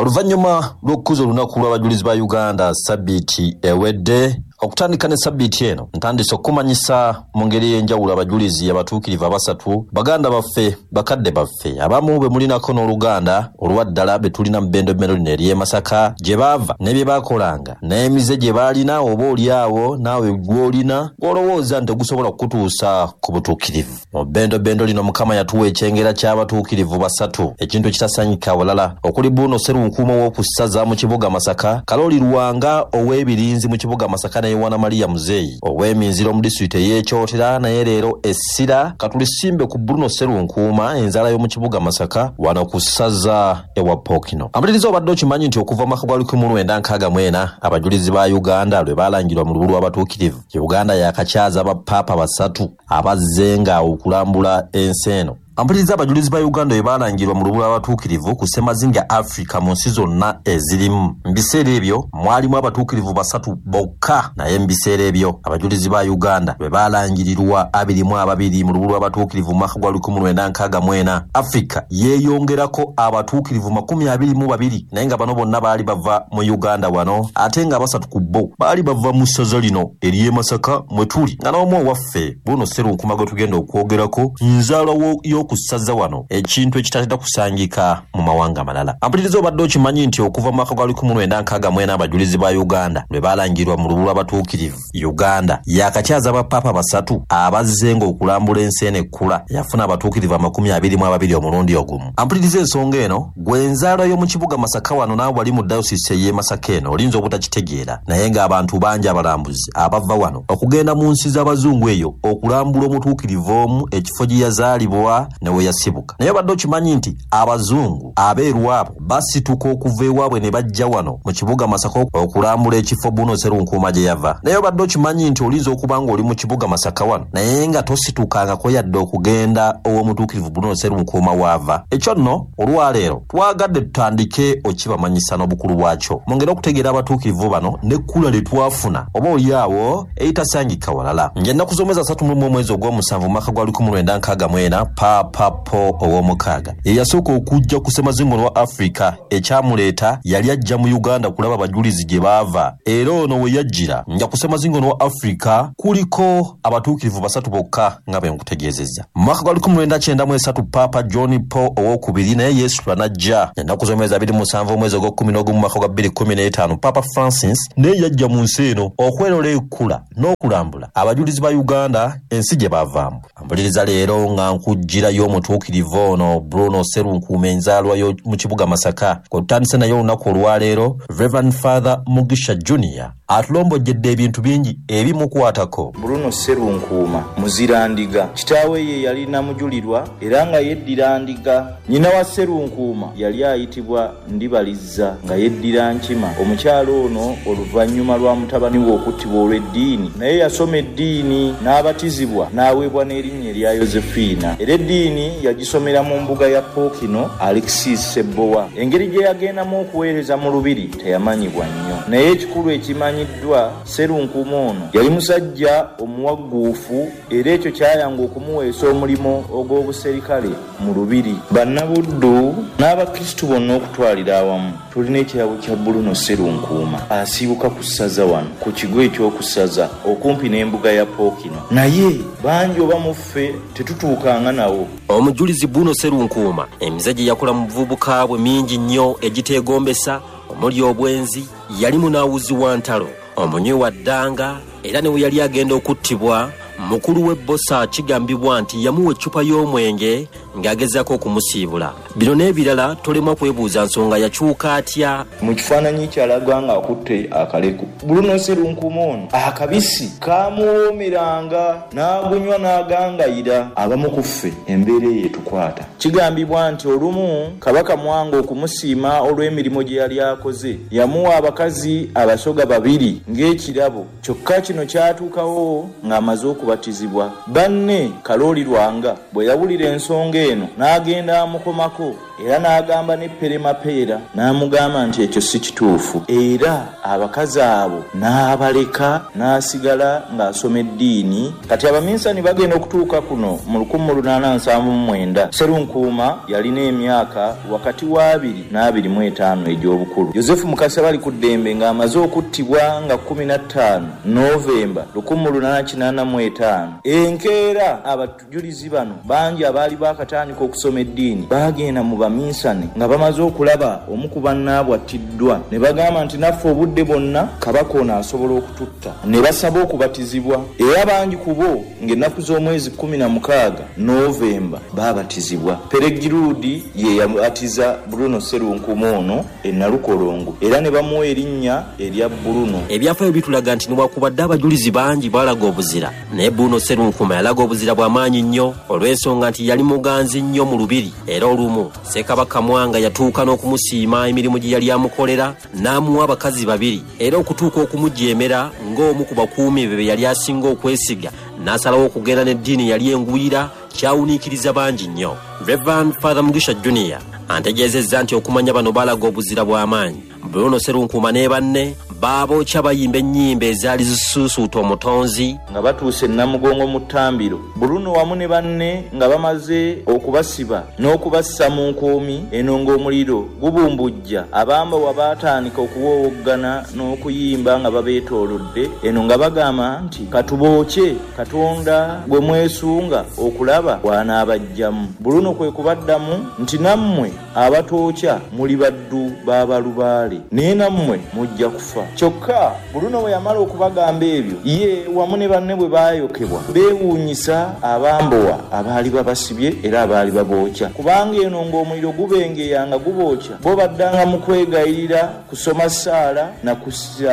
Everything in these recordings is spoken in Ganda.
Oluvannyuma lw'okukuza olunaku lw'abajulizi ba Uganda sabbiiti ewedde, okutandika ne sabbiiti eno ntandise okukumanyisa mu ngeri ey'enjawulo abajulizi abatuukirivu abasatu, baganda baffe, bakadde baffe, abamu be mulinako n'oluganda olwa ddala be tulina mu bbendobendo lino ery'e Masaka, gye baava ne bye baakolanga n'emize gye baalina oba oli awo naawe gw'olina gw'olowooza nti tegusobola kukutuusa ku butuukirivu. Mu bbendobendo lino Mukama yatuwa ekyengera ky'abatuukirivu basatu, ekintu ekitasangika walala, okuli Bruno Sserunkuuma ow'oku ssaza mu kibuga Masaka, Kalooli Lwanga ow'e Birinzi mu kibuga Masaka ne Yowana Maria Muzeeyi ow'e Minziro mu disitulikiti ey'e Kyotera. Naye leero essira katulisimbe ku Bruno Sserunkuuma, enzaala y'omu kibuga Masaka wano ku ssaza ewa Ppookino. Ampuliriza, obadde okimanyi nti okuva mu mwaka gwa 1964 abajulizi ba Uganda lwe baalangirwa mu lubu lw'abatuukirivu, Uganda yaakakyaza bappaapa basatu abazzenga okulambula ensi eno? Ampuliriza, abajulizi ba Uganda bwe baalangirwa mu lubu lw'abatuukirivu ku ssemazinga Africa mu nsi zonna ezirimu, mu biseera ebyo mwalimu abatuukirivu basatu bokka. Naye mu biseera ebyo abajulizi ba Uganda lwe baalangirirwa 22 mu lubu lw'abatuukirivu mu mwaka gwa 1964, Africa yeeyongerako abatuukirivu 22, naye nga bano bonna baali bava mu Uganda wano, ate nga abasatu ku bo baali bava mu ssaza lino ery'e Masaka mwe tuli, nga n'omu owaffe Bruno Sserunkuuma gwe tugenda okwogerako nzaalwa y'oku ssaza wano, ekintu ekitatera kusangika mu mawanga malala. Ampuliriza, obadde okimanyi nti okuva mu mwaka gwa 1964 abajulizi ba Uganda lwe baalangirwa mu lubu lw'abatuukirivu, Uganda yaakakyaza bappaapa basatu abazzenga okulambula ensi eno ekkula yafuna abatuukirivu 22 omulundi ogumu? Ampuliriza, ensonga eno, gwe nzaalwa y'omu kibuga Masaka wano naawe wali mu dayosisi ey'e Masaka eno olinza obutakitegeera, naye ng'abantu bangi abalambuzi abava wano okugenda mu nsi z'abazungu eyo okulambula omutuukirivu omu, ekifo gye yazaalibwa ne we yasibuka. Naye obadde okimanyi nti abazungu abeeru abo basituka okuva ewaabwe ne bajja wano mu kibuga Masaka okulambula ekifo Bruno Sserunkuuma gye yava? Naye obadde okimanyi nti olinza okuba ng'oli mu kibuga Masaka wano naye nga tositukangako yadde okugenda ow'omutuukirivu Bruno Sserunkuuma w'ava? Ekyo nno olwaleero twagadde tutandike okibamanyisa n'obukulu bwakyo mwongere okutegeera abatuukirivu bano n'ekkula lye twafuna oba oli awo eritasangika walala. Ng'ennaku z'omwezi 31 omwezi ogw'omusanvu mu mwaka gwa 1964, Paapa Paul ow'omukaaga ye yasooka okujja ku ssemazinga ono wa Africa. Ekyamuleeta yali ajja mu Uganda kulaba bajulizi gye baava, era ono we yajjira nga ku ssemazinga ono wa Africa kuliko abatuukirivu basatu bokka nga bwe nkutegeezezza. Mu mwaka gwa 1993 Paapa John Paul ow'okubiri naye yeesitula n'ajja. Ennaku z'omwezi 27 omwezi ogw'okkumi n'ogumu mu mwaka gwa 2015 Paapa Francis naye yajja mu nsi eno okwerola ekkula n'okulambula abajulizi ba Uganda ensi gye baavaamu. Mpuliriza, leero nga nkuggyirayo omutuukirivu ono Bruno Sserunkuuma, enzaalwa mu kibuga Masaka, kwe tutandise naye olunaku olwaleero. Reverend Father Mugisha Junior atulombojjedde ebintu bingi ebimukwatako. Bruno Sserunkuuma muzira Ndiga. Kitaawe ye yali Namujulirwa era nga yeddira Ndiga. Nnyina wa Sserunkuuma yali ayitibwa Ndibalizza nga yeddira Nkima. Omukyala ono oluvannyuma lwa mutabani we okuttibwa olw'eddiini, naye yasoma eddiini n'abatizibwa n'aweebwa n'erinnya erya Yozefiina. Era eddiini yagisomera mu mbuga ya Pookino Alexis Ssebbowa. Engeri gye yagendamu okuweereza mu Lubiri teyamanyibwa nnyo. Naye ekikulu ekimanyiddwa, Sserunkuuma ono yali musajja omuwagguufu era ekyo kyayanga okumuweesa omulimu ogw'obuserikale mu Lubiri. Bannabuddu n'Abakristu bonna okutwalira awamu tulina ekirabo kya Bruno Sserunkuuma asibuka ku ssaza wano ku kigo eky'oku ssaza okumpi n'embuga ya Pookino, naye bangi oba mu ffe tetutuukanga nawo. Omujulizi Bruno Sserunkuuma emize gye yakola mu buvubuka bwe mingi nnyo egiteegombesa, omuli obwenzi, yali munaawuzi wa ntalo, omunywi wa ddanga, era ne we yali agenda okuttibwa mukulu w'ebbosa kigambibwa nti yamuwa eccupa y'omwenge ng'agezaako okumusiibula. Bino n'ebirala tolemwa kwebuuza nsonga yakyuka atya. Mu kifaananyi kyalaga ng'akutte akaleku, Bruno Sserunkuuma ono akabisi kamuwoomeranga n'agunywa n'agangayira. Abamu ku ffe embeera eyo etukwata. Kigambibwa nti olumu Kabaka Mwanga okumusiima olw'emirimu gye yali akoze, yamuwa abakazi Abasoga babiri ng'ekirabo. Kyokka kino kyatuukawo ng'amaze okubasiibula. okubatizibwa. Banne Kalooli Lwanga bwe yawulira ensonga eno n'agenda amukomako era n'agamba ne Pere Mapeera n'amugamba nti ekyo si kituufu, era abakazi abo n'abaleka n'asigala ng'asoma eddiini. Kati abaminsani bagenda okutuuka kuno mu 1879, Sserunkuuma yalina emyaka wakati wa 2 n'25 egy'obukulu. Yozefu Mukasa Balikuddembe ng'amaze okuttibwa nga 15 Novemba 1885, enkeera abajulizi bano bangi abaali baakatandika okusoma eddiini baagenda mu baminsani nga bamaze okulaba omu ku bannaabwe attiddwa ne bagamba nti naffe obudde bwonna Kabaka ono asobola okututta, ne basaba okubatizibwa, era bangi ku bo ng'ennaku z'omwezi 16 Novemba baabatizibwa. Peregiruudi ye yabatiza Bruno Sserunkuuma ono e Nalukolongo era ne bamuwa erinnya erya Bruno. Ebyafaayo bitulaga nti newakubadde abajulizi bangi baalaga obuzira, naye Bruno Sserunkuuma yalaga obuzira bwa maanyi nnyo olw'ensonga nti yali muganzi nnyo mu lubiri, era olumu Ssekabaka Mwanga yatuuka n'okumusiima emirimu gye yali amukolera n'amuwa abakazi babiri, era okutuuka okumujeemera ng'omu ku bakuumi be be yali asinga okwesiga n'asalawo okugenda n'eddiini yali engwira kyawuniikiriza bangi nnyo. Reverend Father Mugisha Junior antegeezezza nti okumanya bano baalaga obuzira bw'amaanyi, Bruno Sserunkuuma ne banne baabookya bayimba ennyimba ezaali zisuusuuta omutonzi. Nga batuuse Namugongo mu ttambiro, Bruno wamu ne banne nga bamaze okubasiba n'okubassa mu nkuumi eno ng'omuliro gubumbujja, abambowa baatandika okuwoowoggana n'okuyimba nga babeetoolodde eno nga bagamba nti katubookye Katonda gwe mwesunga okulaba bw'anaabajjamu. Bruno kwe kubaddamu nti nammwe abatookya muli baddu ba balubaale, naye nammwe mujja kufa. Kyokka Bruno bwe yamala okubagamba ebyo, ye wamu ne banne bwe baayokebwa, beewuunyisa abambowa abaali babasibye era abaali babookya, kubanga eno ng'omuliro gubengeya nga gubookya, bo baddanga mu kwegayirira kusoma ssaala na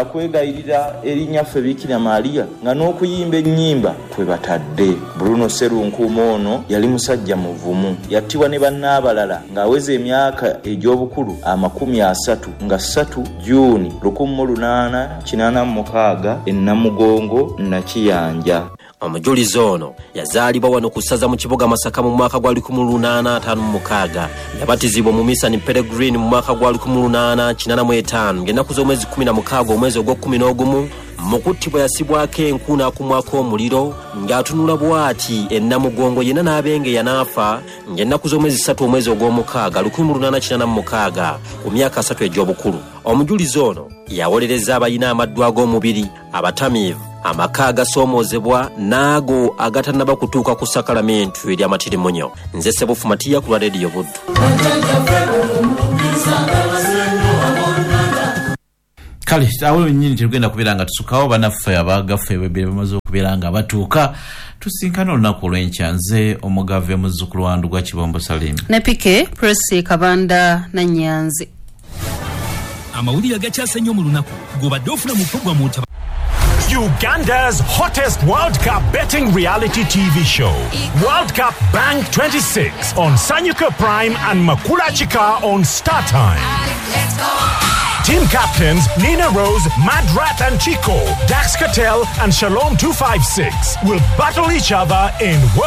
kwegayirira eri Nnyaffe Bikira Maria nga n'okuyimba ennyimba kwe batadde. Bruno Sserunkuuma ono yali musajja muvumu. Yattibwa ne banne abalala ng'aweza emyaka egy'obukulu 30 nga 3 Juni 1886 e Namugongo Nakiyanja. Omujulizi ono yazaalibwa wano ku ssaza mu kibuga Masaka mu mwaka gwa 1856. Yabatizibwa mu Misani Peregrine mu mwaka gwa 1885 ng'ennaku z'omwezi 16 omwezi ogw'okkumi mu kuttibwa yasibwako enku n'akumwako omuliro ng'atunula bw'ati e Namugongo yenna n'abengeya n'afa ng'ennaku z'omwezi 3 omwezi ogw'omukaaga 1886 ku myaka 3 egy'obukulu. Omujulizi ono yawolereza abalina amaddu ag'omubiri, abatamiivu, amaka agasoomoozebwa n'ago agatannaba kutuuka ku sakalamentu ery'amatirimunyo. Nze Ssebufu Matiya ku lwa Rediyo Buddu. Kale awo wennyini tetugenda kubeera nga tusukawo, bannaffe abagaffe bebere bamaze okubeera nga batuuka. Tusinkane olunaku olw'enkya. Nze omugave muzzukulu wa Ndugwa Kibombo Salim ne Pike Presi Kabanda na Nyanzi. Amawulire agakyase nnyo mu lunaku gobadde ofuna mu programu Uganda's hottest World Cup betting reality TV show, World Cup Bank 26 on Sanyuka Prime and Makula Chika on Star Time. Team captains Nina Rose, Madrat and Chico, Dax Cattell and Shalom 256 will battle each other in World